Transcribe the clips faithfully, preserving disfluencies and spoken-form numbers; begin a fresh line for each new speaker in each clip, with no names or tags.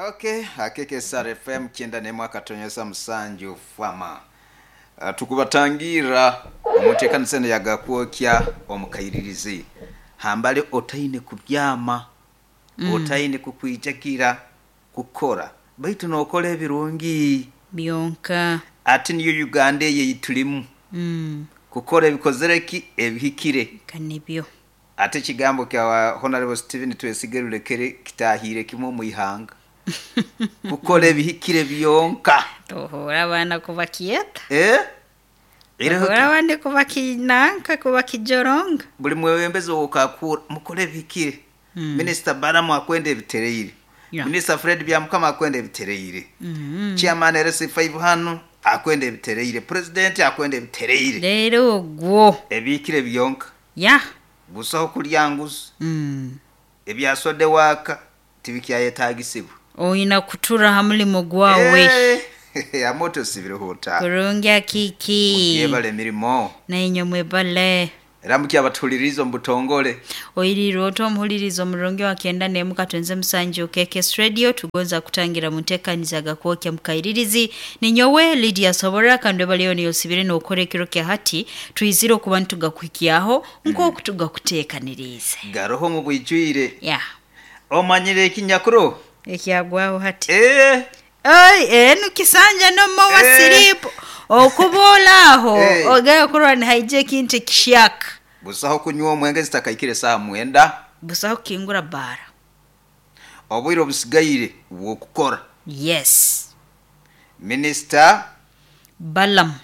Okay, hakika S R F M kyenda n'emu akatonyeza musanju fama. Uh, tukubatangira omutekanisa yagakwokya omukairirizi. Hambale otaine kubyama, mm. otaine kukwijagira kukora. Baitu nokora ebirungi
byonka.
Ati niyo Uganda eyitulimu.
Mm.
Kukora ebikozereki ebihikire.
Kanibyo.
Ate kigambo kya Honorable Stephen Twesige Rulekere kitahire kimwe mu ihanga. Kukora ebihikire byonka.
Tohora abana kubakieta.
Eh?
Tohora abandi kubakinanka kubakijoronga.
Buli mwebembezi okakura mukore ebihikire.
Mm.
Minister Balamu akwende ebitereire.
Yeah.
Minister Fred Byamukama akwende ebitereire.
Mm -hmm.
Chairman R C five hano akwende ebitereire. President akwende ebitereire.
Lero gwo.
Ebihikire byonka.
Yeah.
Busaho kulyanguza.
Mm.
Ebyasode waka tibikyayetagisibwa.
Oyina kutura hamulimo gwawe.
Eh, amoto sibiruhuta.
Kurungi kiki.
Mujebale mirimo.
Na inyo mwebale.
Era mukyabatuuliriza mubutongole.
Oyiriro omuhulirizo omurungi wa kyenda n'emu katonze musanju K K S Radio tugonza kutangira mutekaniza gakwokya mukairirizi. Ninyowe Lydia Sobora kandwe baliyo niyosibire n'okora ekiro kya hati twizire okuba ntugakuhikyaho nk'oku tugakuteekanirize.
Garoho mu bwijwire.
Yeah.
Omanyire ekinyakuro?
Ekyagwaho hati.
Eh.
Ai, enu kisanja no mowa
eh.
Siripo. Okubola aho
eh.
Ogayo kurwa ni haije kintu kishyaka.
Busaho kunywa omwenge zitakaikire saa mwenda.
Busaho kingura bara.
Obwire obusigaire bwokukora.
Yes.
Minister
Balamu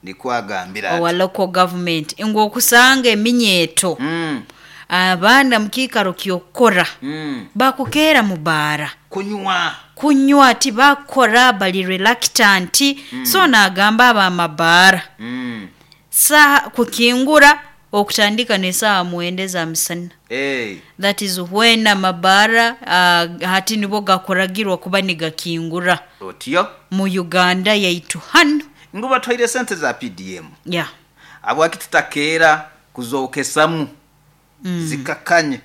nikwagambira
owa local government ngo okusanga eminyeto.
Mm.
Abaana mukikaro kyokora.
Mm.
Bakukera mu bara.
Kunywa.
Kunywa ati bakora bali reluctant.
Mm.
So nagamba aba mabara.
Mm.
Saa kukingura okutandika ne saa muende za misana.
Hey.
That is when amabara uh, hati nibo gakoragirwa kuba nigakingura.
Otyo
mu Uganda yaitu hano.
Nguba twaire sente za P D M.
Yeah.
Abwaki tutakera kuzokesamu.
Mm.
Zikakanye.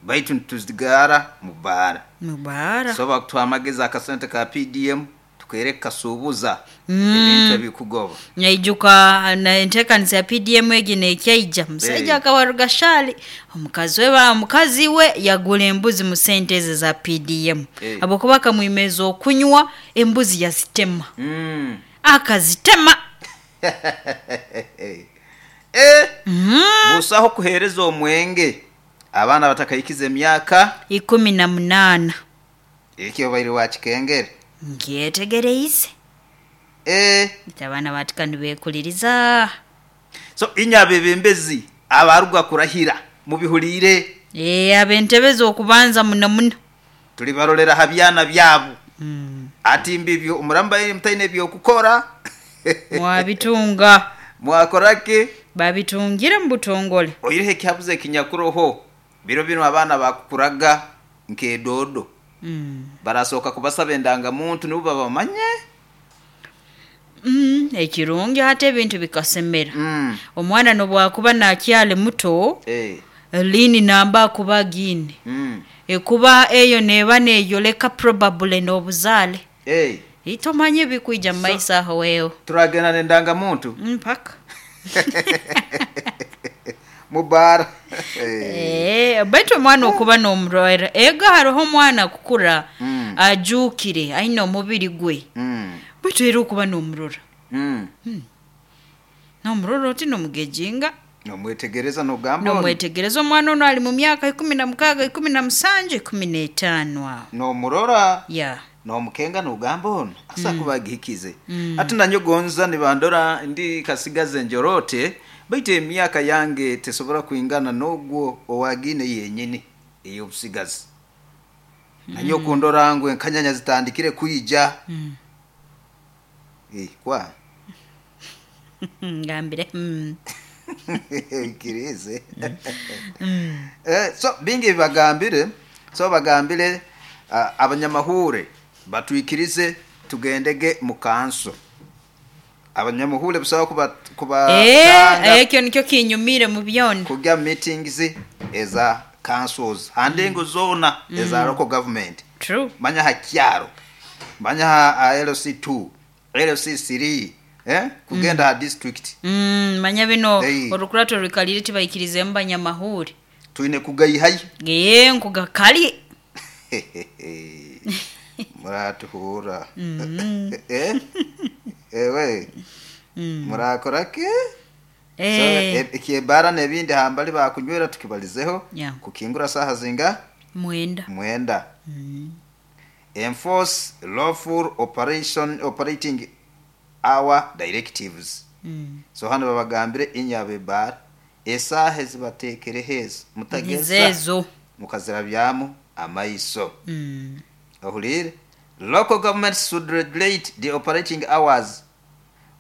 Baitu tuzigara mubara.
Mubara.
So bakutwamageza akasente ka P D M tukereka subuza
mm.
ebintu ebikugoba.
Nyaijuka na entekanisa ya P D M egi nekyaija musajja
hey.
Akawaruga shali omukazi we ba mukazi we yagula embuzi mu sente eze za P D M.
Hey.
Abokuba kamwimeza okunywa embuzi yazitema.
Mm.
Akazitema.
Eh.
Mm.
Busaho kuhereza omwenge abaana batakayikiza emyaka
ikumi na munana.
Ekyo bairi wakikengere.
Ngyetegereize.
Eh,
abaana batikani bekuliriza.
So inya bebembezi abaruga kurahira mubihulire.
Eh, abentebeza okubanza muno muno.
Tuli barolera habyana byabo.
Mm.
Ati mbibyo omuramba mutaine byokukora.
Mwabitunga.
Mwakorake
babitungira mu butongole.
Oyirehe kyabuze kinyakuroho. Biro bino abaana bakukuraga nkedodo.
Mm.
Barasoka kubasaba endanga muntu nibo babamanye.
Mm, ekirungi hata ebintu bikasemera.
Mm.
Omwana nobwakuba nakyali muto,
eh
lini namba kuba gini.
Mm.
Ekuba eyo neba neyoleka probable n'obuzaale.
Eh.
Itomanye bikuija so, maisa aho wewe.
Turagenda nendanga muntu
mpaka.
Mubara.
Eh, baitu omwana okuba n'omurwaire. Ega hariho omwana kukura
mm.
ajukire aine omubiri gwe.
Mm.
Baitu era okuba n'omurora.
Mm.
Mm. N'omurora oti n'omugejinga.
Nomwetegereza n'ogamba.
Nomwetegereza omwana ono ali mu myaka ikumi na mukaaga, ikumi na musanju, ikumi n'etaano aho.
N'omurora.
Yeah.
N'omukenga n'ogamba ono asa
mm.
kubagihikize.
Mm.
Ati nanyogonza nibandora ndi kasigaze njorote. Baitu emyaka yange tesobora kuingana n'ogwo owagine yenyini ey'obusigazi.
Mm.
Nanyo kundora ngwe enkanyanya zitandikire kuija.
Mm.
Eh, kwa
ngambire. Mm.
Kirize.
Mm.
Eh, so bingi bagambire, so bagambire uh, abanyamahure batwikirize tugendege mu kanso. Abanyamuhure busaba kuba kuba
eh ekyo nikyo kinyumire mu byona
kujya meetings eza Councils handengo zoona eza local government.
True.
Manya ha kyaro, manya ha, ha L C two, L C three, eh? Kugenda ha district.
Mm, manya bino.
Hey.
Orukurato rukalire tibayikirizemu banyamahuri.
Twine kugayihayo.
Ye nkugakali.
Muratuhura, eh? Ewe murakora ke? So,
Eh,
e- ekyebara n'ebindi hambali bakunywera tukibalizeho.
Yeah.
Kukingura saha zinga?
Mwenda.
Mwenda. Enforce lawful operation operating hour directives.
Mm.
So hano babagambire inyabebara esaha ezibatekere heza mutageza
Nizezo.
mukazirabyamu amaiso.
Mm.
Ohulire, local governments should regulate the operating hours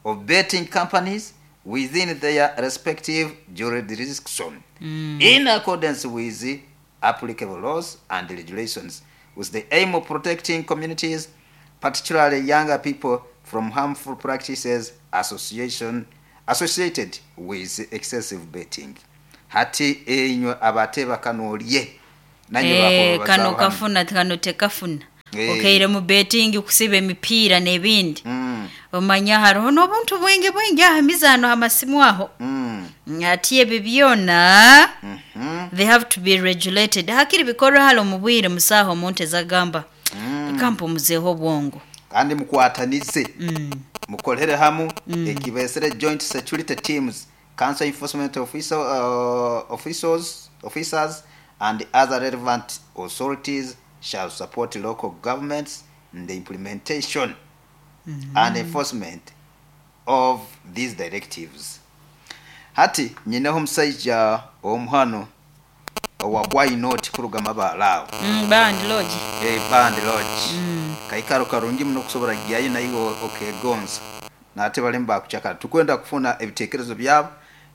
of betting companies within their respective jurisdiction
Mm.
in accordance with the applicable laws and regulations, with the aim of protecting communities, particularly younger people, from harmful practices association associated with excessive betting. Hati enywe abateba kanoolye nanye.
Eh,
Bakubazaho
kano
hano.
Kafuna kano tekafuna.
Eh.
Okaire mu betting kusiba emipiira n'ebindi.
Mm,
omanya hariho n'obuntu bwingi bwingi aha mizaano amasimu aho.
mm,
Ati ebyo byona
mhm,
they have to be regulated, hakiri bikorwa hali omu bwire musaaha omuntu ezagamba
mm.
kampumuzeeho obwongo.
Kandi mukwatanize,
Mm.
mukolere hamu ekibesere joint security teams, council enforcement officer, uh, officers, officers and other relevant authorities shall support local governments in the implementation and enforcement of these directives. Hati nyineho omusaija omuhano owa Why Not kuruga mabalaawo.
Mm, band lodge.
Eh, band lodge kaikaro karungi muno kusobora gyayo naye okegonza nate balimu bakucakara. Tukwenda kufuna ebitekerezo byabo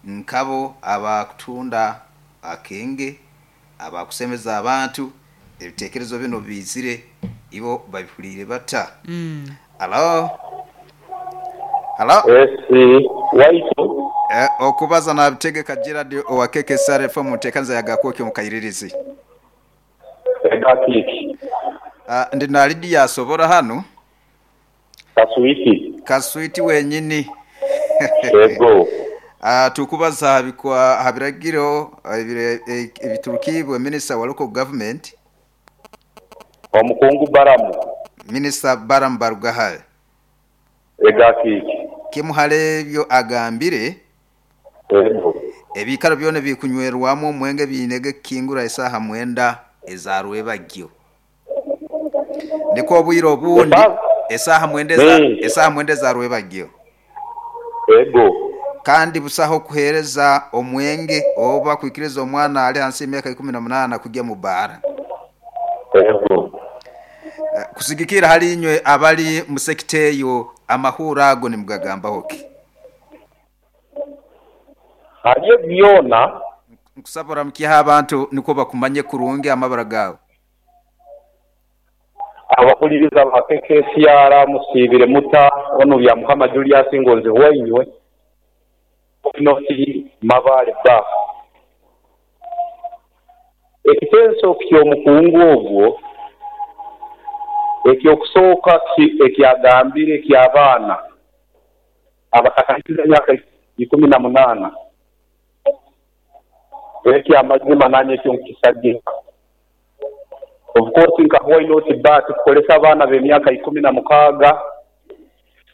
nkabo abakutunda akenge, abakusemeza abantu. Ebitekerezo bino bizire ibo babihulire bata?
Mm.
Halo, halo.
Esi waitu.
Eh, okubaza nabitegeka Gerard owa K K S R F M mutekanza yagakwokyo mukayiririzi.
Egakiki.
Uh, ndi na Lydia asobora hano.
Kaswiti.
Kaswiti wenyini.
Ego.
Uh, tukubaza habikwa habiragiro ebire- e- ebiturukibwe minister wa local government.
Omukungu Baramu.
Minister Baram Barugahare.
Egakiki.
Kimuhale ebyo agambire.
Ego.
Ebikaro byona bikunywerwamu omwenge biinege kingura esaha mwenda ezarwebagyo, niko obwire obundi
Esa-
esaha mwenda eza-
Mm.
esaha mwenda ezarwebagyo.
Ego.
Kandi busaho kuhereza omwenge oba kwikiriza omwana ali hansi y'emyaka ikumi na munana kujya mu bara.
Ego.
Eh, kusigikira hali inywe abali mu sekita eyo, amahura ago nimugagambaho ki?
Haliyo byona.
Nkusaba oramukiha abantu niko bakumanye kurungi amabara gawe.
Abahuliriza ba K K S R, musiibire muta? Ono bya Mukama Julius Ngonzi wainywe noti Mabale ba ekitenso ky'omukungu ogwo. Ekyokusooka ki- ekyagambire eky'abaana abatakahikiriza emyaka ikumi na munaana, ekyamazima nanye ekyo nkisagika. Of course nka Why Not Bar tukolesa abaana b'emyaka ikumi na mukaaga,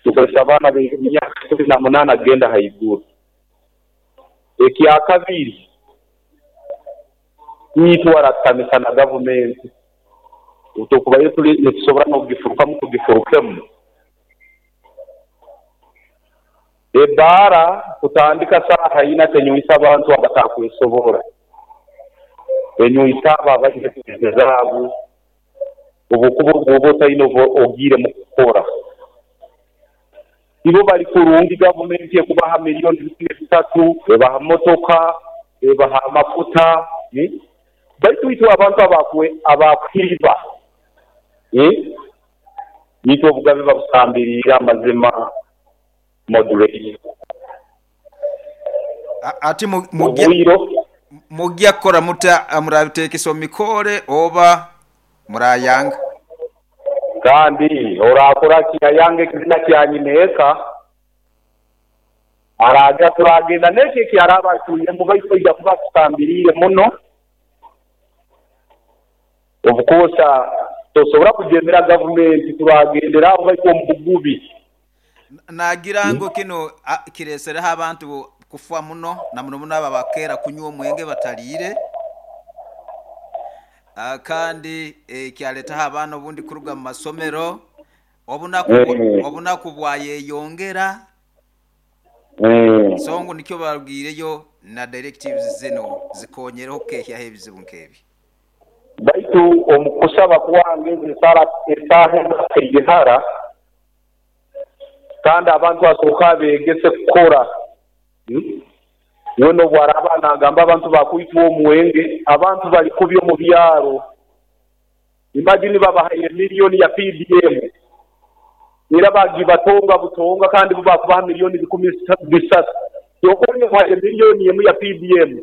tukolesa abaana b'emyaka ikumi na munaana kugenda haiguru. Ekyakabiri, nitwaratamisa na gavumenti tukubayo tuli nitusobora n'okugifurukamu tugifurukemu. Ebaara kutandika saaha ina tenywisa abantu abatakwesobora, enywisa abo abaine sente zaabo. Obukuba bwoba otalina ogiire mu kukora ibo bali kurungi. Gavumenti ekubaha miliyoni bikumi bisatu, ebaha motoka, ebaha amafuta, eh? Baitu itwe abantu abakwe abakuhiriba, eh? Nitwe obugabe babusambirira amazima moderate.
A- ati mu- mugye
Obwiro.
Mujja kukora muta murabitekesa omu mikore oba murayanga?
Kandi orakora kiyayanga ekizina kya nyineeka araja turagenda n'ekyo ekyaraba atuyemu baitu aija kuba tutambiriire muno obukosa tosobora kujemera gavumenti turagendera aho baitu omu bugubi.
Nagira ngu kino kiresereho abantu kufa muno na muno muno aba bakera kunywa omwenge bataliire. Uh, kandi eh, kyaletaho abaana obundi kuruga mu masomero obunaku
Mm.
obunaku bwayeyongera.
Mm.
So ngu nikyo barubwireyo na directives zino zikonyereho kukehyaho ebizibu nk'ebi.
Baitu omu kusaba kwange esara esaaha ekaigihara kandi abantu basooka beegese kukora. Hmm? Wena obwaraba nagamba abantu bakwitwa omwenge, abantu bali kubi omu byaro. Imagine babahaire miliyoni ya P D M era bagibatonga butonga kandi bo bakubaha miliyoni bikumi bisatu. Yokoli omuhaire miliyoni emu ya P D M,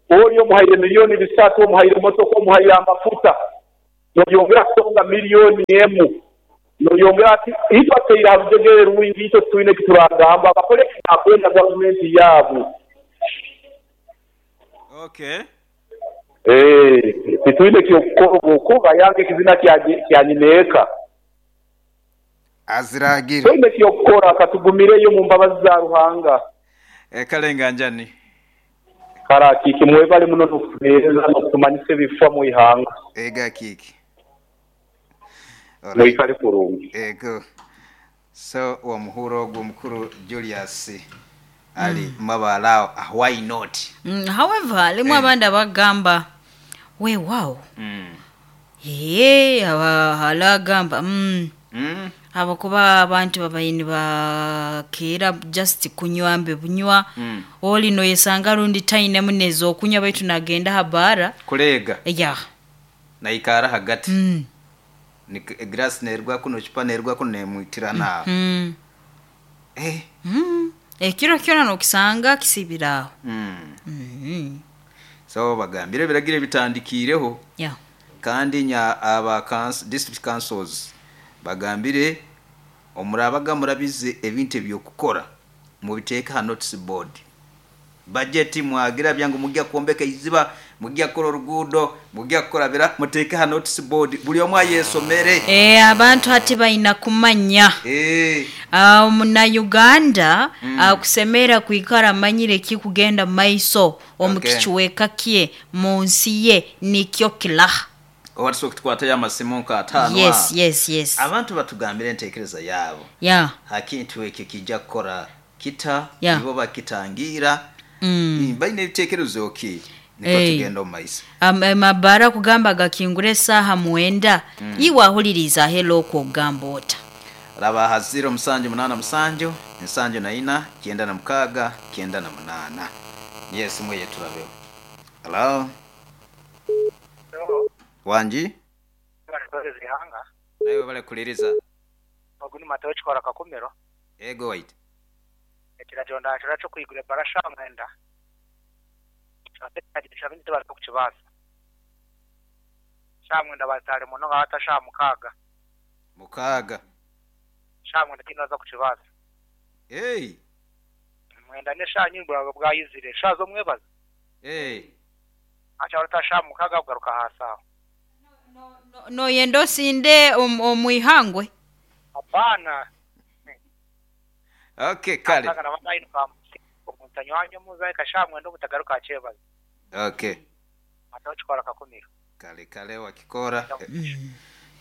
oli omuhaire miliyoni bisatu, omuhaire motoka, omuhaire amafuta, noyongera kutonga miliyoni emu, noyongera ati itwe ateire aha rujegere rwingi, itwe twine kituragamba bakore akwenda gavumenti yaabo.
Okay.
Eh, titwine kyokukora okuba yange ekizina kya nyineeka.
Aziragira.
Twine kyokukora katugumireyo mu mbabazi za Ruhanga.
E, kalenga njani.
Kara kiki mwebale muno n'okutuheereza n'okutumanyisa ebifa mu ihanga.
Ega kiki.
Mwikale kurungi.
Ego. So wa muhuro ogwo mukuru Julius ali mm. mabalao, why not?
Mm, however alimu
Eh.
abandi abagamba we wow.
Mm.
Ye aba halagamba mm.
Mm.
Abakuba abantu babaini bakeera just kunywa mbe bunywa.
Mm.
Oli noyesanga rundi taine muneza okunywa baitu nagenda habara
kulega
ya
naikara hagati.
Mm.
Ni grass nerwa kuno chupa nerwa kuno nemwitira na
Mm.
eh
Mm. Ekiro kyona nokisanga kisibiraho.
Mm.
Mm.
So bagambire biragire bitandikireho.
Yeah.
Kandi nya aba council, district councils bagambire omurabaga murabize ebintu ebyokukora mubiteeka ha notice board. Budget mwagira byangu mujya kuombeka iziba, mujya kukora oruguudo, mujya kukora bira, muteeke ha notice board buli omwe ayesomere.
Eh, abantu hati baina kumanya.
Eh.
Uh, muna Uganda
Mm.
akusemera kuikara amanyire kikugenda maiso omu
Okay.
kichweka kye mu nsi ye nikyo kilaha.
Owatusobola kutukwatayo amasimu nka ataano.
Yes,
aho.
yes, yes.
Abantu batugambire enteekereza yaabo.
Yeah.
Hakintu ekyo kijja kukora kita
Yeah.
nibo bakitangira.
Mm.
Balina ebiteekerezo ki niko
Hey.
tugenda omu maiso.
Am- amabara kugamba gakingura esaaha mwenda.
Mm.
Iwe ahuliriza helo okugamba ota.
Raba ha zero musanju munana musanju nsanju na ina kyenda na mukaaga kyenda na munaana. Niyo esimu eye turabeho. Hello. Wanji?
Zihanga.
Nawe bale kuliriza.
Ogu ni Mateo Kikora Kakumiro.
Ego wait.
Ekiragiro ndakira kyo kwigura ebarasha mwenda. Kyabintu bari kukibaza. Sha mwenda batale muno ngata sha mukaaga.
Mukaaga.
Sha mwenda kinoza kukibaza.
Hey.
Mwenda ne sha nyimbura bwayizire sha zo mwebaza.
Hey.
Acha barata sha mukaaga kugaruka hasa.
No, no yendo sinde omwihangwe.
Hapana.
Okay, kale.
Atanga na batayi omuntu muza kasha mwenda obutagaruka achebaza.
Okay.
Mateo Kikora Kakumiro.
Kale kale wakikora.
Mm.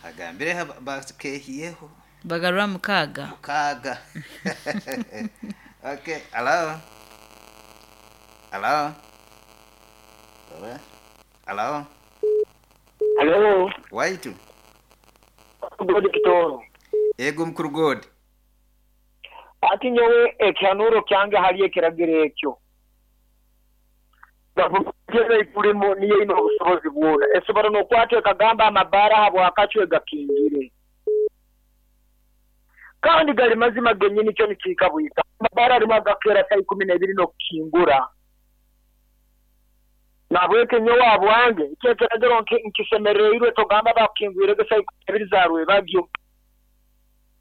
Agambire bakehiyeho.
Bagarura mukaaga.
Mukaaga. Okay, hello. Hello. Hello.
Hello.
Waitu.
God Kitoro.
Ego mukuru God.
Ati nyowe ekyanuro kyange hali ekiragiro ekyo. Gavumenti ikulimo niyo ino obusobozi bwona. Esobora n'okwata ekagamba amabara habwakacwe gakingire. Kandi gali mazima genyini kyo nikiika bwika. Amabara arimu agakera saa ikumi n'ebiri n'okukingura. Nabweke nyowe abwange ekyekeragiro nkisemereirwe togamba bakingwirege saa ibiri za rwebagyo.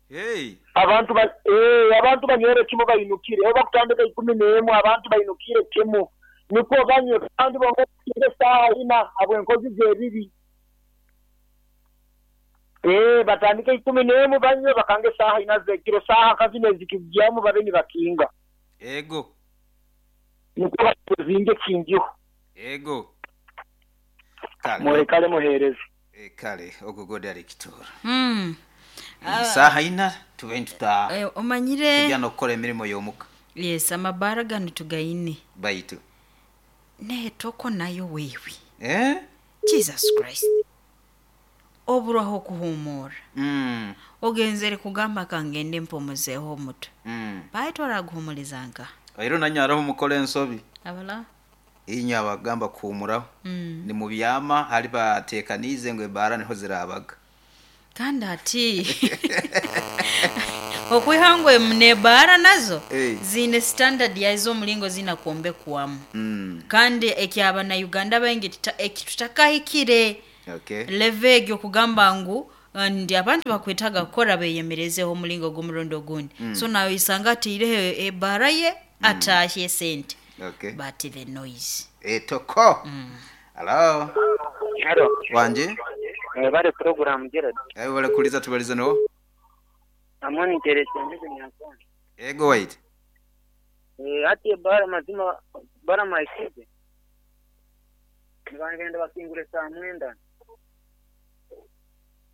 Hey.
Abantu ba eh abantu banywere kimu bayinukire oba kutandika ikumi n'emu abantu bayinukire kimu niko banywe kandi bongere saa ina abwenkozi z'ebibi. Eh batandike ikumi n'emu banywe bakange saa ina zekiro saa kazine zikijyamu babe ni bakinga.
Ego.
Niko bazinge kingiho.
Ego. Kale.
Murekale muhereze.
E, kale ogugode ari kitora.
Mm.
Saha ina tube ntuta.
Eh, omanyire
tujya no gukora emirimo yomuka.
Yes, amabara gano tugaine.
Baitu.
Ne toko nayo wewe.
Eh?
Jesus Christ. Oburaho kuhumura.
Mm.
Ogenzere kugamba kangende mpomuzeho omuto.
Mm.
Baitu araguhumulizanga.
Airo nanyaraho mukole ensobi.
Abala.
Inyo abagamba kuhumuraho.
Mm.
Ni mu byama hari batekanize ngo ebara niho zirabaga.
Kandi ati okwihangwe mnebara nazo
hey.
Zine standard yazo mulingo zina kuombe kuamu.
Mm.
Kandi ekyaba na Uganda bengi ekitutakahikire.
Okay.
Levegyo kugamba ngu ndi abantu bakwetaga kukora beyemerezeho mulingo gumurondo gundi.
Mm.
So nayo isanga atirehe ebara ye
mm.
atahye sente.
Okay.
But the noise.
Etoko.
Mm.
Hello.
Hello.
Wanje?
Bale program Gerard.
Eh bale kuliza tubalize no.
Amoni terese ndize nyakoni.
Ego wait.
Eh ati bara mazima bara maisize. Nibangenda bakingure saa mwenda.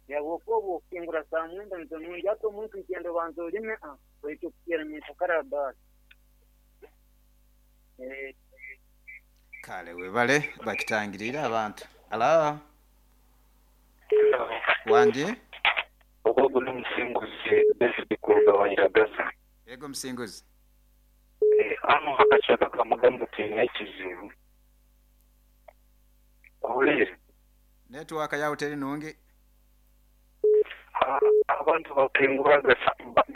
Ya wokobo kingura saa mwenda nzo ato muntu nkendo banzo lime a oito kira nyetakara bara. Eh
kale webale bakitangirira abantu. Hello. Wanje?
Ogogo ni msinguzi David kugabanya Gaza.
Yego msinguzi.
Eh ano hakachaka kamagambo tena kizibu. Olere.
Network ya hoteli nungi.
Abantu bakinguraga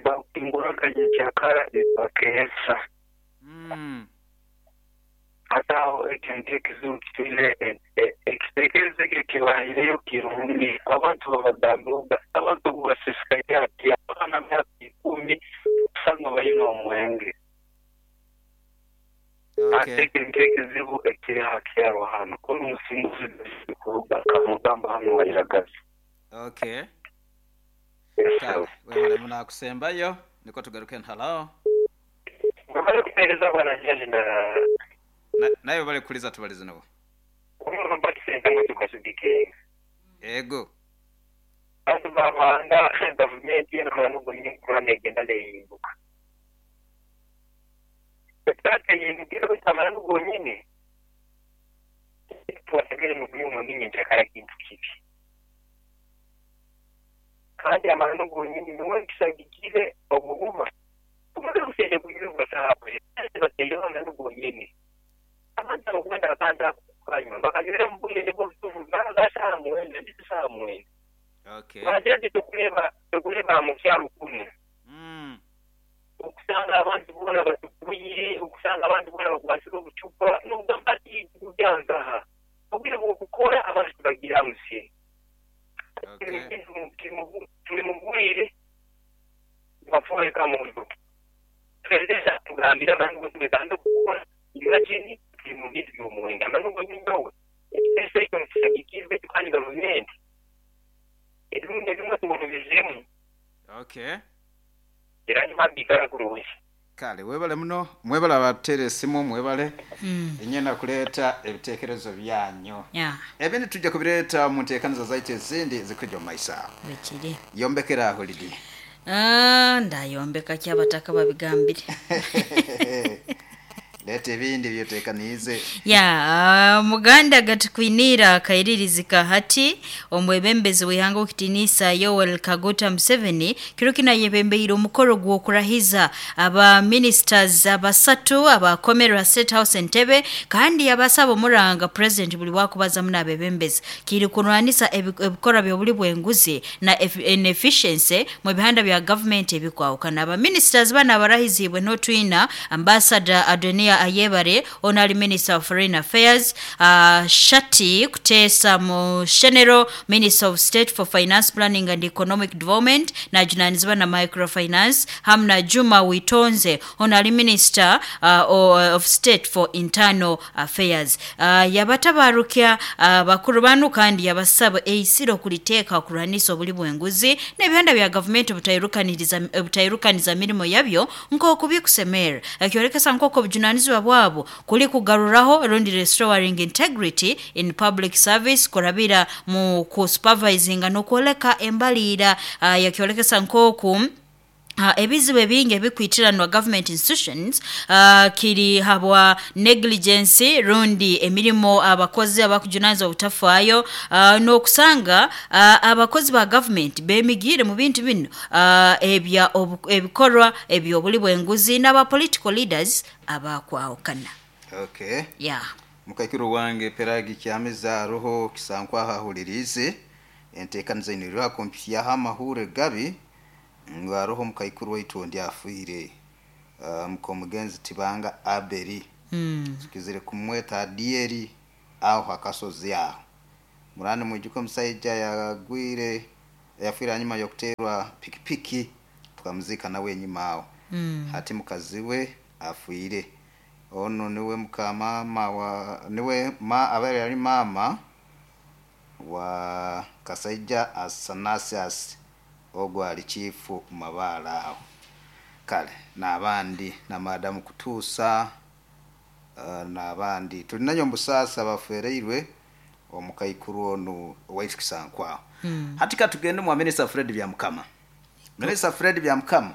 bakinguraga nyicyakara bakesa.
Mm.
Ataho ekintu kizibu kitile ekitekerezo kibahireyo kirungi abantu babadambuga abantu basisikaye ati abana myaka ikumi usanga bayina omwenge.
Okay.
Ate ekintu ekizibu ekiri hakyaro hano kono musinguzi kuruga kamugamba hano wayiragaza.
Okay. Wewe munakusembayo niko tugaruke hello.
Bari kupereza bana na
nayo bale kuliza tubalize nabo.
Umuntu mbakisenda ngo tukashidike.
Ego.
Abantu babanga government y'abantu ngo nyikura negenda leyimbuka. Tate yindukira bitamara n'ubwo nyine. Tuwategere mu byuma byinshi kara kintu kibi. Kandi amara n'ubwo nyine niwe kisagikire obuguma. Tumaze gusende kugira basahabe. Bateyo n'ubwo nyine. Abantu bakunda bakanda kanywa bakagera mu bwenge bwo kuvuga gashamwe ndetse.
Okay.
Baje tukureba tukureba mu cyaro kumwe.
Mm.
Ukusanga abantu bona batukuye ukusanga abantu bona bakwashira ubucupa nubwo mbati kubyanza. Ubwire bwo gukora abantu bagira musi.
Okay.
Turi mu bwire bapfuye kamuntu. Perezida tugambira abantu ngo tuganda gukora imagine mu bintu by'umwenda manubwo nyinyowe ese cyo nshagikirwe kandi government ebimwe bimwe tubonezemo.
Okay.
Era nyuma kuruwe.
Kale webale muno mwebale abatere simu mwebale
mm.
Inyena kuleta ebitekerezo byanyu.
Yeah.
Ebindi tujja kubireta mu nteekaniza zaitu ezindi zikujja mu maisa.
Bekiri.
Yombekera holiday.
Ah, ndayombeka kyabataka babigambire.
Lete ebindi byotekanize.
Ya, uh, muganda gatukwinira kairirizika hati omwebembezi wihanga okitinisa Yoweri Kaguta Museveni kirukina yebembeire omukoro gw'okurahiza aba ministers abasatu abakomerera State House Entebbe kandi abasaba omuranga president buli wakubaza muna abebembezi kiri kunwanisa ebikora byobuli bwenguzi na inefficiency mu bihanda bya government ebikwawukana. Aba ministers bana abarahizibwe notwina ambassador Adonia Apolonia Ayebare ono ali Minister of Foreign Affairs, uh, Shati Kutesa Mushenero Minister of State for Finance Planning and Economic Development najunanizibwa na microfinance, hamna Juma Witonze ono ali Minister uh, of State for Internal Affairs. Uh, yabatabarukya uh, bakuru banu kandi yabasaba eisiro kuliteeka kulwanisa obuli bw'enguzi n'ebihanda bya gavumenti butairukaniriza butairukaniza mirimo yabyo nk'oku bikusemera, akyorekesa nk'oku obujunanizibwa bwabo kuli kugaruraho rundi restoring integrity in public service kurabira mu kusupervisinga n'okwoleka embaliira. Uh, yakyolekesa nk'oku Uh, ebizibu ebingi ebikwitiranwa government institutions uh, kiri habwa negligence rundi emirimo abakozi abakujunanizibwa obutafaayo, uh, n'okusanga uh, abakozi ba government bemigire mu bintu bino uh, ebya ebikorwa eby'obuli bw'enguzi n'aba political leaders abakwawukana.
Okay.
Yeah.
Mukakiro wange peragi kyameza roho kisankwa hahulirize enteekaniza ino kompya amahure gabi ngaroho mukaikuru waitu ndi afuire uh, mukomugenzi Tibanga Aberi
mm.
Tukizire kumweta Adieri aho akasozi aho murani mwijuko musaija yagwire yafuira nyuma yokuterwa pikipiki tukamuzika nawe nyuma aho
mm.
Hati mukaziwe afuire ono niwe mukamama wa niwe ma abere ari mama wa Kasaija Asanasias ogwo ali chifu mabala aho kale n'abandi na madamu kutuusa uh, n'abandi tulinayo mbusasa bafereirwe omukaikuru ono waitu Kisankwaho.
Mm.
Hati katugende mu Minister Fred Byamukama. Minister Fred Byamukama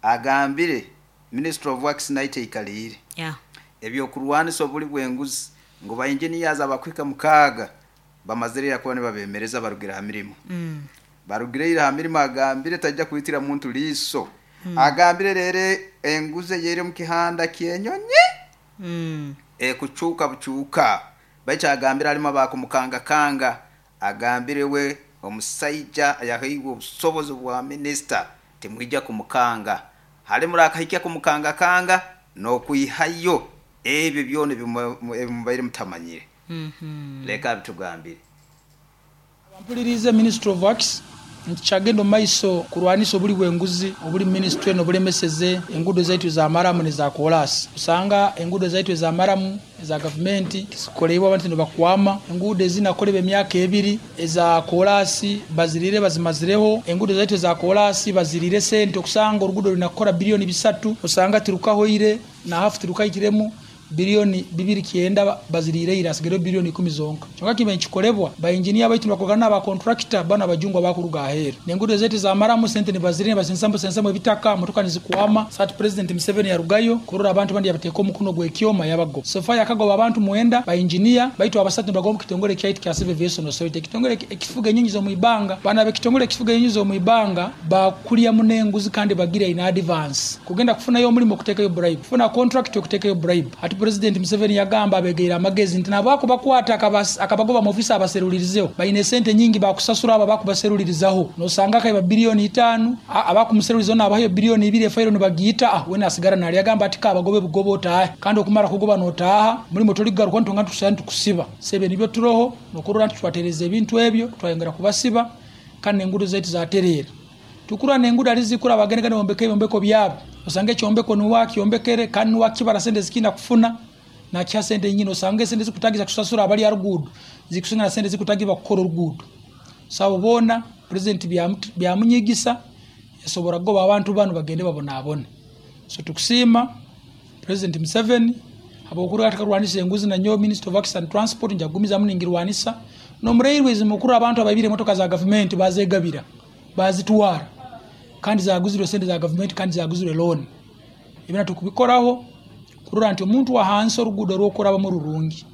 agambire Minister of Works naite ikalire
yeah.
ebyokurwanisa obuli bw'enguzi ngo ba engineers abakwika mukaga bamazirira kuba nibabemereza barugira ha mirimo
mm.
barugireira ha mirimo agambire tajja kuitira muntu liso. mm. Agambire rere enguze yere mu kihanda kyenyonyi
mm.
e kuchuka buchuka baicha agambire alima bakumukanga kanga agambire we omusaija yahiwe obusobozi bwa minister timwijja kumukanga hali murakahikya kumukanga kanga no kuihayo ebyo byone ebimubaire mutamanyire.
mm -hmm.
Leka bitugambire
Mpulirize Minister of Works nti kyagenda omu maiso kurwanisa obuli bw'enguzi obuli ministry eno obulemeseze enguudo zaitu za maramu neza koolaasi. Osanga enguudo zaitu eza maramu eza gavumenti tizikoleibwa abantu nibakwama, enguudo ezinakolebwa emyaka ebiri eza koolaasi bazirire bazimazireho, enguudo zaitu eza koolaasi bazirire sente okusanga oruguudo runakora biliyoni bisatu osanga tirukahoire na hafu tirukahikiremu biliyoni bibiri kyenda bazirire ira asigaire biliyoni ikumi zonka. Kyonka kibe nkikolebwa ba engineer baitu bakogana ba contractor bana bajungwa bakuruga aheru. Nengudo zetu za maramu sente nibazirire basensambo sensambo ebitaka motoka nizikwama. Sat President Museveni yarugayo kurora abantu bandi yabateka omukono gwekyoma yabago. Sofa yakagoba abantu mwenda ba engineer baitu abasatu nibagomba kitongole kyaitu kya Civil Aviation Authority kitongole ekifuga enyonyi zo muibanga bana be kitongole ekifuga enyonyi zo muibanga bakulya munenguzi kandi bagira in advance kugenda kufunayo omulimo kutekayo bribe kufuna contract okutekayo bribe. Ati President Museveni yagamba abegeera amagezi nti nabako bakwata akabagoba mu ofisi abaserulirizeho bayine sente nyingi bakusasura aba bakubaserulirizaho nosanga kaiba biliyoni itaano abakumuserulirizaho nabayo biliyoni ibiri efairo nibagiyita ah wena asigara nali yagamba ati kabagobe bugobo otahe kandi okumara kugoba notaha mulimo toligaruka ntonga tusana tukusiba sebe nibyo turoho nokurora nti twatereza ebintu ebyo twayongera kubasiba kandi engudo zetu zaterera tukura nengudo alizikura abagenega bombeke bombeko byabo osange kyombeko nuwa kyombekere kandi nuwa kibara sente zikina kufuna na kya sente nyingi osange sente zikutagiza kusasura abali arugudo zikusinga na sente zikutagiba kukora orugudo sabo bona president byamunyigisa yasobora goba abantu bano bagende babona abone. So tukusima President Museveni abokuru atakarwanisa enguzi na nyo Minister of Works and Transport njagumiza muningirwanisa no murailways mukuru abantu ababire motoka za government bazegabira bazitwara kandi zaguzirwe sente za government kandi zaguzirwe loan. Ibina tukubikoraho kurora nti omuntu wa hansi orugudo rwokuraba mu rurungi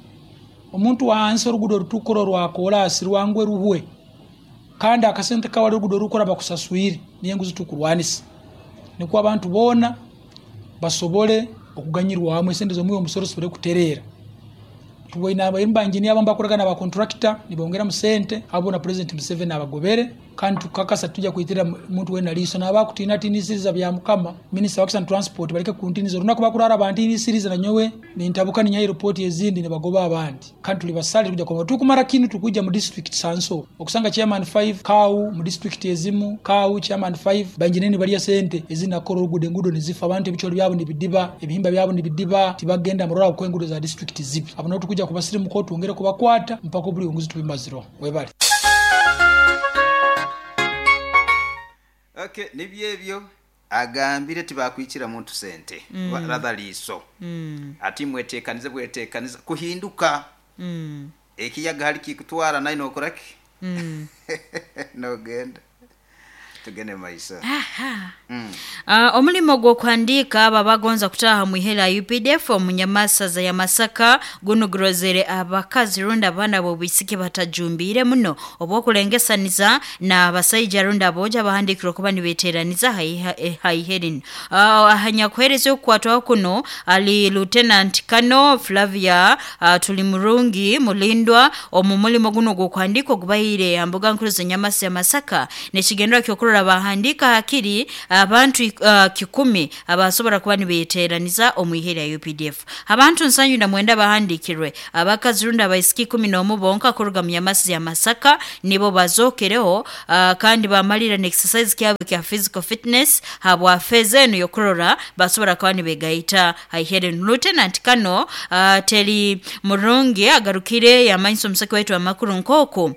omuntu wa hansi orugudo rutukoro rwa kolasi rwangwe ruhwe kandi akasente kawa rugudo rukuraba kusaswire niye nguzi tukurwanisa niko abantu bona basobole okuganyirwa hamwe sente zo muyo omusoro sobole kuterera. Tuboine abayimba engineer bambakoragana ba contractor nibongera musente abo na President Museveni abagobere kandi tukakasa tujja kuitira muntu wena liso n'abakutina tinisiriza bya mukama Minister Works and Transport baleke kuntiniza olunaku bakurara abantinisiriza na nyowe nintabuka ninya report ezindi ne bagoba abandi kandi tuli basali kujja kwa tukumara kinu tukujja mu district sanso okusanga chairman five kau mu district ezimu kau chairman five banjineni bali sente ezina koro rugude ngudo nizifa abantu ebicholo byabo nibidiba ebihimba byabo nibidiba tibagenda murora ku engudo za district zibi abo tukujja kubasirimu ko tuongere kubakwata mpaka buli unguzi tubimaziro webali.
Okay, nibyo agambire tibakwikira muntu sente mm. rather liso mm. ati mwetekanize bwetekanize kuhinduka mm. ekiyaga hali kikutwara nayo nokoraki mm. no genda tugende maisha.
Aha. Mm. Uh, omulimo gw'okuhandiika aba bagonza kutaha mu ihera U P D F omunyamasaza ya Masaka gunugurozere abakazi runda abaana b'obwisiki batajumbire muno obw'okulengesaniza na abasaija runda aboja bahandikirwe kuba nibeteraniza haiherin. Uh, ahanyakuhereza okukwatwaho kuno ali Lieutenant Kano Flavia uh, Tulimurungi Mulindwa omu mulimo guno gw'okuhandiika ogubaire ambuga nkuru z'enyamasa ya Masaka nekigendera ky'okurora bahandika hakiri abantu uh, kikumi abasobora kuba nibeteraniza omu ihera ya U P D F. Abantu nsanyu na mwenda bahandikirwe abakazi runda abaisiki kumi n'omu bonka kuruga mu nyamasi ya Masaka nibo bazokereho uh, kandi bamalira ne exercise kyabo kya physical fitness habwa feze eno yokurora basobora kuba nibegaita haihere. Lieutenant Kano uh, Teri Murungi agarukire yamanyisa omusaki waitu amakuru nkoko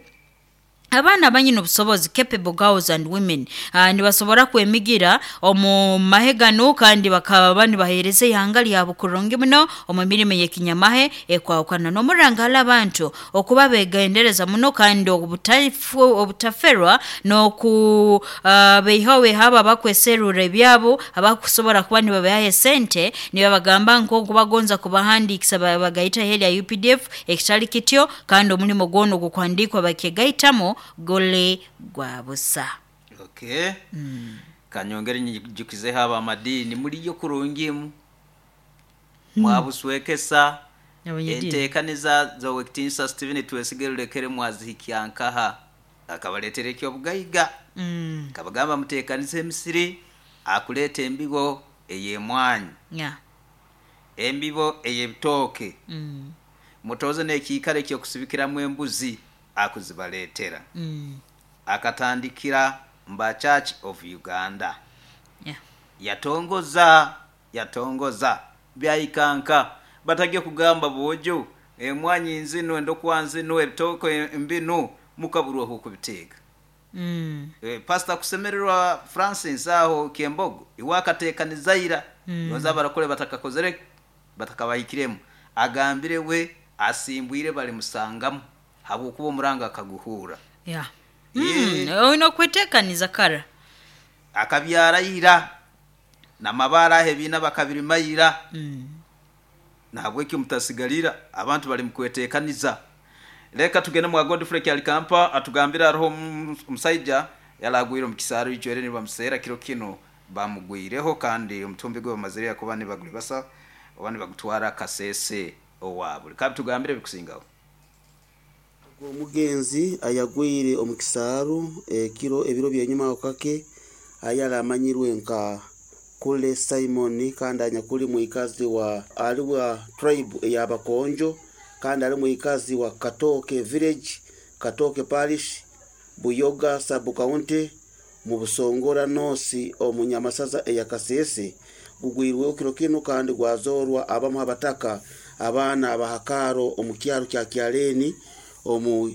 abaana abanyina obusobozi capable girls and women uh, nibasobora kwemigira omu mahegano kandi bakaba nibahereza ihanga lyabo kurungi muno omu mirimo y'ekinyamahe ekwahukana n'omurangala abantu okuba begendereza muno kandi obutafu obutaferwa n'oku uh, beihawe haba bakweserura ebyabo abakusobora kuba nibabaha sente nibabagamba nko kubagonza kubahandikisa bagaita heli ya U P D F ekitali kityo kandi omulimo gwono gukwandikwa bakegaitamo gole gwabusa.
Okay. Mm. Kanyongere nyijukize haba amadini muri yo kurungimu mm. mwabuswekesa entekaniza za Wekitinsa Steven Twesigerulekere mwazihikyankaha akabaletere ekyo bugaiga mm. kabagamba mutekanize emisiri akuleta embigo eyemwanyi
yeah.
embibo eyebitoke
mm.
mutoze n'ekiikaro ekyokusibikiramu embuzi akuzibaletera
mm.
akatandikira mba Church of Uganda
yeah.
yatongoza yatongoza byayikanka batagiye kugamba bojo emwanyi nzino endokwanzi no ebitoko embino mukaburwa kubiteka
mm.
e, Pastor Kusemererwa Francis aho Kiembogo iwakatekanizaira mm. noza barakole batakakozere batakabahikiremo agambire we asimbwire bali musangamu habukuba omuranga akaguhura
yeah. mm, ono kwetekaniza kara
akabyara ira namabara hebina bakabirimayira
mm.
nahabweki mutasigalira abantu bali mukwetekaniza. Leka tugende mu Godfrey Kyalikampa atugambira roho musaija yalagwire mu kisaro icwere ni bamusera kiro kino bamugwireho kandi omutumbi gwe bamazire yakuba ni baguli basa obani bagutwara Kasese owabuli kabi tugambire bikusingaho.
Omugenzi ayagwire omukisaru ekiro ebiro byenyuma okake ayala amanyirwe nka Kule Simon kandi anyakuli muikazi wa aliwa tribe eyabakonjo kandi ali muikazi wa Katoke village, Katoke parish, Buyoga sub county mu Busongora nosi omunyamasaza eyakasese gugwirwe okiro kino kandi gwazorwa abamu abataka abaana abahakaro omukyaro kya Kyaleni omu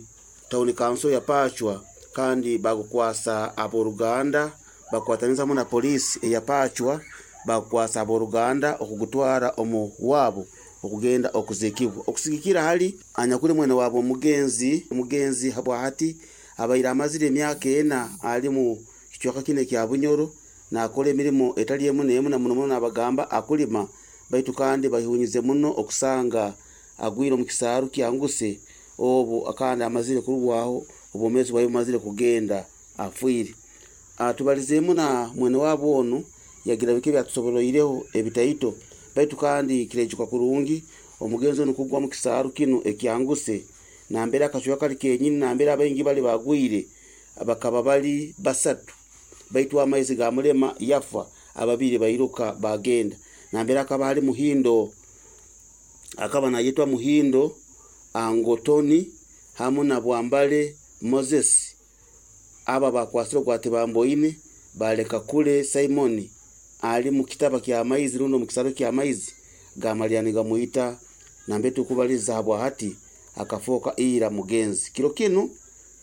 town council ya Pachwa kandi bagukwasa aboruganda bakwataniza mu na polisi eya Pachwa bakwasa aboruganda okugutwara omu wabo okugenda okuzikibwa okusigikira hali anyakuli mwene wabo omugenzi omugenzi habwa hati abaira amazire emyaka ena ali mu kichwaka kine kya Bunyoro na akole emirimo etali emu nemu na muno muno abagamba akulima baitu kandi bahunyize muno okusanga agwire mu kisaaru kyanguse obu akanda amazire kurwaho obomezi bwayo mazire kugenda afwire. Atubalizemu na mwene wabo ono yagira bike byatusoboroireho ebitaito baitu kandi kirejuka kurungi Omugenzi ono kugwa mu kisaaru kinu ekyanguse nambere akacweka kali kenyini nambere abaingi bali bagwire bakaba bali basatu baitu amaizi gamulema yafa, ababiri bairuka bagenda. Nambere akaba ali Muhindo, akaba nayetwa Muhindo Angotoni hamu na Bwambale Moses. Aba bakwasire gwate bamboine baleka kule Simoni ali mu kitaba kya maizi runo mu kisaro kya maizi gamalyani gamuita nambe tukubaliza habwa hati akafoka ira mugenzi. Kiro kinu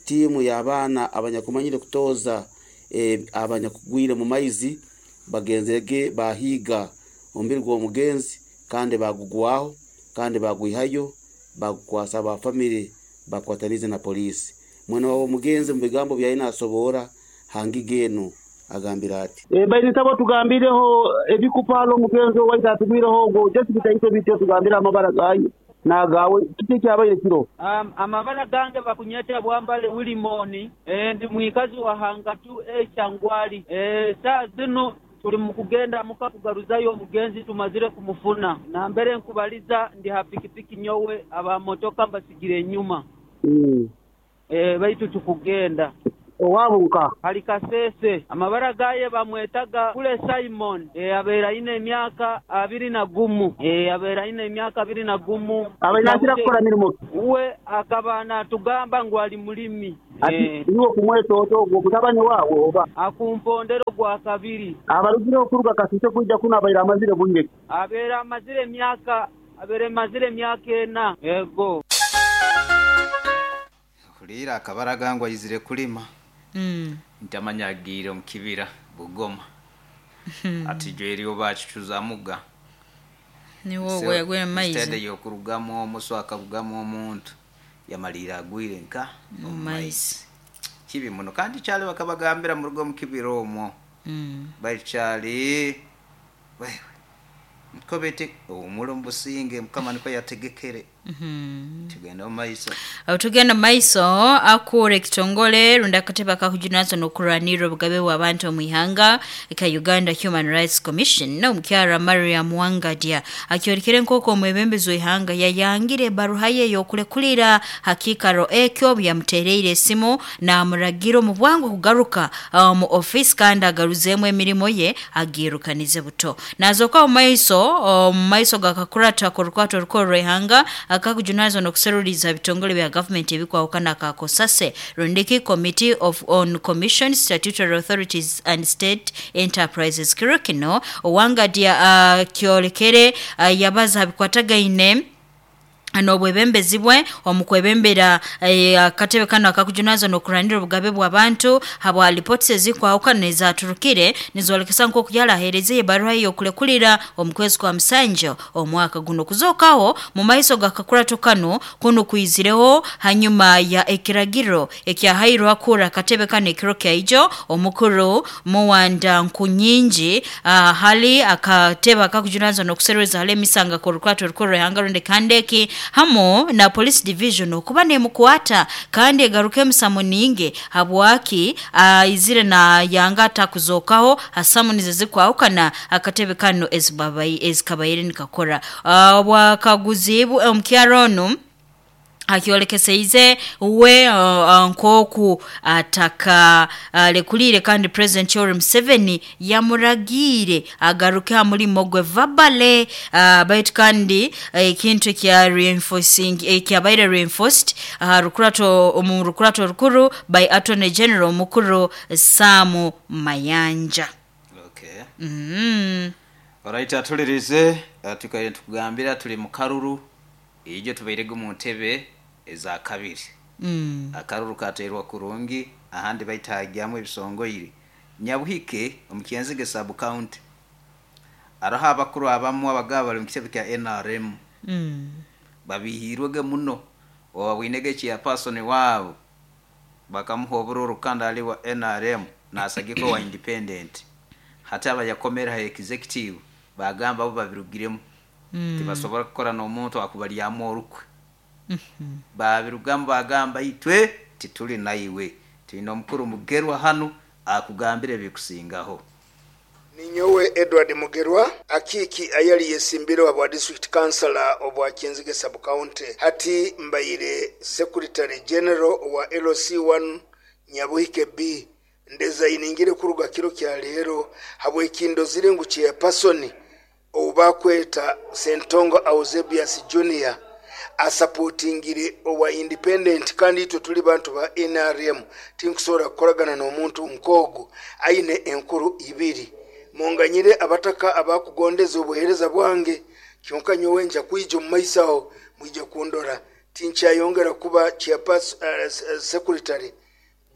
timu ya abaana abanyakumanyire kutoza e, abanyakugwire mu maizi bagenzege bahiga ombiri gwa mugenzi kandi bagugwaho kandi bagwihayo bagukwasa ba family bakwatanize na polisi. Mwana wa mugenzi mu bigambo byaina asobora hangigeno agambira ati
e, baini tabo tugambireho ebikupalo mugenzi waita atugwireho go just bitaito bityo tugambira amabara gayo nagawe kiti kyabaire kiro.
Um, amabara gange bakunyeta Bwambale Wilimoni e, ndi mwikazi wa Hangatu e Changwali. E, saa zino tuli mukugenda muka kugaruzayo omugenzi tumazire kumufuna na mbere nkubaliza ndi ha pikipiki nyowe aba motoka mbasigire enyuma
mm.
E, baitu tukugenda
owabunka
hali Kasese. Amabara gaye bamwetaga kule Simon. E, abera ine emyaka abiri na gumu. E, abera ine emyaka abiri na gumu.
Abainakira kukora mirimo
uwe akaba natugamba ngu ali mulimi.
E, niwo kumwetoto ogwo mutabani wawe oba
akumpondero gwa kabiri
abarugire okuruga Kasese kujja kuno abaira amazire bwire
abera amazire emyaka abere amazire emyaka ena ego
kulira akabaraga ngo ayizire kulima.
Mm.
Ntamanyagire mu kibira Bugoma. Ati jweri obachichuza muga
niwo so, yagwire maizi
instead yokurugamo omuso akabugamo omuntu yamalira agwire nka
mu maizi
kibi muno kandi kyali bakabagambira mu rugo mu kibira omwo.
Mm.
Baikyali wewe nkobete omulo mbusinge mukama niko yategekere.
Mm-hmm.
Tugenda maiso.
Aho tugenda maiso akure kitongole runda kateba kakujunazo nokuranira obugabe bw'abantu mu ihanga ka Uganda Human Rights Commission no mukyara Mariam Wangadia akyorekere nkoko omwebembezi w'ihanga yayangire baruha ye yokulekulira hakikaro ekyo yamutereire esimu na muragiro mu bwangu kugaruka uh, mu office kandi agaruzemu emirimo ye agirukanize buto. Nazoka mu maiso mu maiso gakakurata korukwato rukoro ihanga akakujunazo nokuseruliza bitongole bya government ebikwawukana ka Kosase Rundiki Committee of on Commission Statutory Authorities and State Enterprises kirokino Owangadia uh, kyolekere uh, yabaza bikwatagaine anobwebembezi bwe omukwebembera akatebe kano akakujunazo nokuranira obugabe bw'abantu habwa reports ezikwawukana ezaturukire nizolekesa nko kuyala hereze baruha yo kulekulira omukwezi kwa Musanjo omwaka guno kuzokaho mu maiso gakakurato kano kuno kuizireho hanyuma ya ekiragiro ekyahairwa kura akatebe kano ekiro kyaijo omukuru Muwanda Nkunyinji uh, hali akatebe akakujunazo nokusereza hale misanga korukwato rukoro hanga runde kandeki hamo na police division okuba nemukwata kandi egaruke musamuninge habwaki uh, izire na yanga takuzokaho hasamunize zikwahukana akatebe kano ezibabai ezikabaire nikakora uh, bwakaguzibu omukyarono akiolekeseize we uh, uh, nkoku ataka uh, lekulire kandi President Yoweri Museveni yamuragire agaruke hamulimo gwe verbale uh, baitu kandi ekintu uh, kya reinforcing ekyabaire reinforced uh, rukurato mu rukurato rukuru by Attorney General mukuru Samu Mayanja.
Okay.
Mm.
Alright, atulirize tukaye tukugambira tuli mu karuru ijo tubairege mu ntebe eza kabiri.
Mm.
Akaruru katerwa kurungi ahandi baitagyamu ebisongoire. Nyabuhike omukiyenzige sub county araha abakuru abamu abagaba bali mu kitebe kya N R M.
Mm.
Babihirwege muno owabwinege kya person wabo bakamuha obururu kandi ali wa N R M nasagiko wa independent. Hata abayakomera ha executive bagamba abo babirugiremu.
Mm.
Tibasobora kukora n'omuntu akubalyamu orukwe.
Mm -hmm.
Babirugamba bagamba itwe tituli naiwe tulina omukuru mugerwa hanu akugambire bikusingaho.
Ninyowe Edward Mugerwa akiiki ayali yesimbire obwa district councillor obwa Kyenzige sub county hati mbaire secretary general wa L C one Nyabuhike B ndezayiningire kuruga kiro kya leero habwekindozire ngu chairperson obakweta Sentongo Auzebius Junior asupportingire owa independent kandi itwe tuli bantu ba N R M tinkusobola kukoragana n'omuntu nkogu aine enkuru ibiri munganyire abataka abakugondeza obuhereza bwange kyonka nyowe nja kwija omu maiso aho mwije kundora tinkyayongera kuba chairperson uh, secretary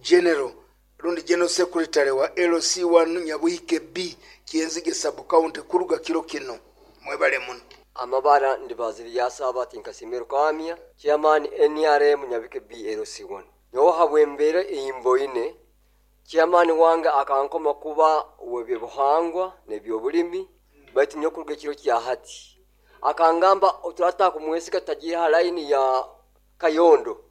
general rundi general secretary wa L C one Nyabuhike B Kyenzige sub county kuruga kiro kino mwebale muno.
Amabara ndibaziri yasaba tinkasimiro kamya chairman N R M Nyabuhike B L C one nyowe habwembere eyimboine chairman wange akankoma kuba webye buhangwa nebyobulimi baitu nyo kuruga kiro kya hati akangamba oturata kumwesika tagira line ya Kayondo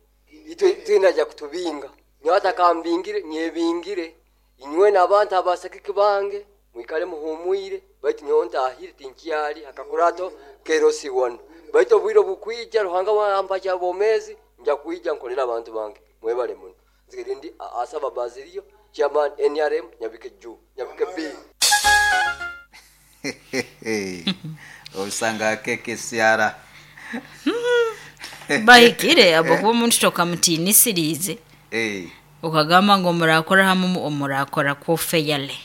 itwe twinaja kutubinga nyowe atakambingire nyebingire inywe n'abantu abasakiki bange mwikale muhumwire baitu nyowe ntahire tinkyali akakurato kerosi one baitu obwire bukwija Ruhanga wampa kyabomezi nja kwija nkolera abantu bange mwebale muno. Nzirindi asaba Bazirio chairman N R M Nyabuhike Ju Nyabuhike B.
Osanga keke siara
bahikire abo kuba omuntu tokamutiinisiriize
eh
ukagamba ngu omurakora hamu omurakora kwo feyale.